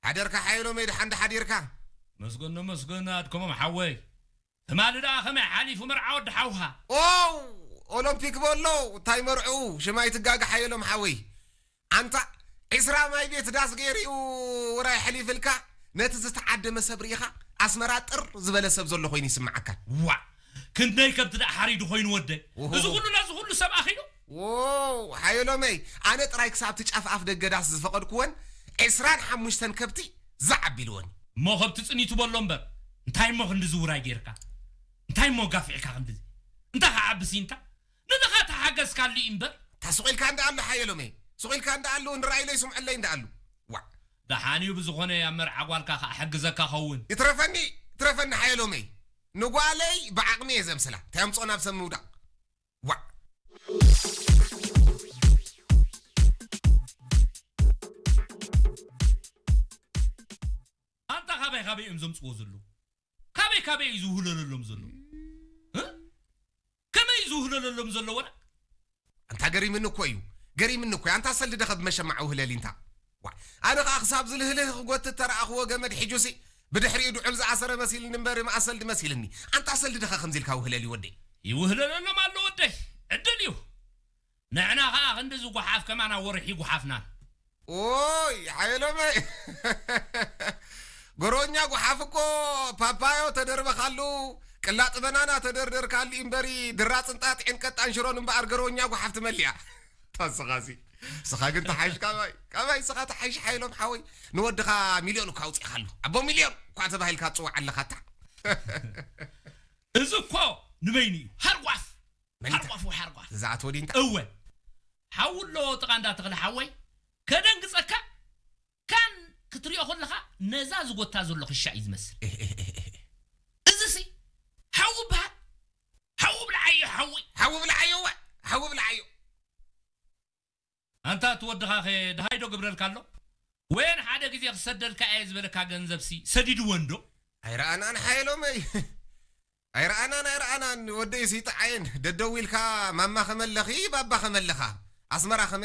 ሓደርካ ሓየሎመይ፣ ደሓን ዶ ሓዲርካ? መስገን መስገን ኣድከሞም ሓወይ። ትማሊ ደኣ ከመይ ሓሊፉ መርዓ ወዲ ሓውኻ? ኦው! ኦሎምፒክ በሎ፣ እንታይ መርዕኡ? ሽም ኣይትጋገ ሓየሎም ሓወይ። ኣንታ ዒስራ ማይ ቤት ዳስ ገይሩ እዩ ውራይ ሓሊፍልካ፣ ነቲ ዝተዓደመ ሰብ ርኢኻ ኣስመራ ጥር ዝበለ ሰብ ዘሎ ኮይኑ ይስምዓካ። ዋ! ክንደይ ከብቲ ደኣ ሓሪዱ ኮይኑ ወደይ። ኦሆ። እዚ ኩሉ ነዚ ኩሉ ሰብ ኣኺሉ? ዎው! ሓየሎመይ፣ ኣነ ጥራይ ክሳብ እቲ ጫፍ ኣፍ ደገ ዳስ ዝፈቐድኩወን ዒስራን ሓሙሽተን ከብቲ ዛዕ ኣቢልወን። እሞ ከብቲ ጽኒቱ በሎ እምበር፣ እንታይ እሞ ክንድዚ ውራይ ጌርካ? እንታይ እሞ ጋፊዕካ ክንድዚ? እንታይ ከዓብሲ እንታ? ንድኻ ተሓገዝካሉ እዩ እምበር። እታ ስቕ ኢልካ እንዳ ኣሎ ሓየሎመይ፣ ስቕ ኢልካ እንዳ ኣሎ ንረኣይለይ ስምዐለይ እንዳ ኣሎ። ዋዕ! ደሓን እዩ ብዝኾነ ኣብ መርዓ ጓልካ ከኣ ሕግዘካ ኸውን። ይትረፈኒ፣ ይትረፈኒ ሓየሎመይ። ንጓለይ ብዓቕሚ እየ ዘምስላ። እንታይ ኣምጽኦ ናብ ሰብ ምውዳቕ? ዋዕ! ኣንታ ካበይ ካበይ እዮም ዘምጽዎ ዘለዉ? ካበይ ካበይ እዩ ዝውህለለሎም ዘሎ? እ? ከመይ እዩ ዝውህለለሎም ዘሎ ወላ? ኣንታ ገሪምኒ እኮ እዩ። ገሪምኒ እኮ እዩ። ኣንታ ሰልዲ ደኸ ብመሸማዕ ውህለሊ እንታ። ዋዕ! ኣነ ኸኣ ክሳብ ዝልህልህ ክጎትት ተረኣኽዎ ገመድ ሒጁሲ ብድሕሪኡ ድዑል ዝኣሰረ መሲልኒ እምበር ማእሰልዲ መሲልኒ። ኣንታ ሰልዲ ደኸ ከምዚ ኢልካ ውህለሊ ወደይ። ይውህለለሎም ኣሎ ወደይ። ዕድል እዩ። ንሕና ኸኣ ክንድዚ ጓሓፍ ከማና ወርሒ ጓሓፍናን። ኦይ፣ ሓየሎመይ። ገሮኛ ጓሓፍ እኮ ፓፓዮ ተደርበኻሉ፣ ቅላጥ በናና ተደርደርካሉ እምበሪ፣ ድራጽን ጣጥዕን ቀጣን ሽሮን እምበኣር ገሮኛ ጓሓፍ ትመልያ። ታስኻሲ። ስኻ ግን ተሓይሽ ካባይ፣ ካባይ ስኻ ተሓይሽ ሓየሎም ሓወይ። ንወድኻ ሚልዮን እኳ ኣውጺእኻሉ። ኣቦ ሚልዮን እኳ ተባሂልካ ትጽዋዕ ኣለኻ እታ። እዚ እኮ ንበይኑ እዩ። ሃርጓፍ! መን እንታ? ሃርጓፍ ወይ ሃርጓፍ። እዛ ኣቶ ዲንታ? እወ። ሓው ኣሎ ጥቓ እንዳ ተኽለ ሓወይ። ከደንግጸካ፣ ካን ክትሪኦ ከለኻ ነዛ ዝጎታ ዘሎ ክሻ እዩ ዝመስል። እህ፣ እህ፣ እህ፣ እህ። እዚሲ ሓው በሃል። ሓው ብልዓዮ፣ ሓዊ። ሓዊ ብልዓዮ፣ እወ። ሓዊ ብልዓዮ። ኣንታ እቲ ወድኻ ኸ ደሃይ ዶ ግብረልካ ኣሎ? ወየን ሓደ ግዜ ክሰደልካ እየ ዝበለካ ገንዘብሲ ሰዲድዎ እንዶ? ኣይረኣናን ሓየሎመይ። ኣይረኣናን፣ ኣይረኣናን። ወደይ ስይጥዓየን። ደደው ኢልካ ማማ ከመለኺ፣ ባባ ከመለኻ። ኣስመራ ከመ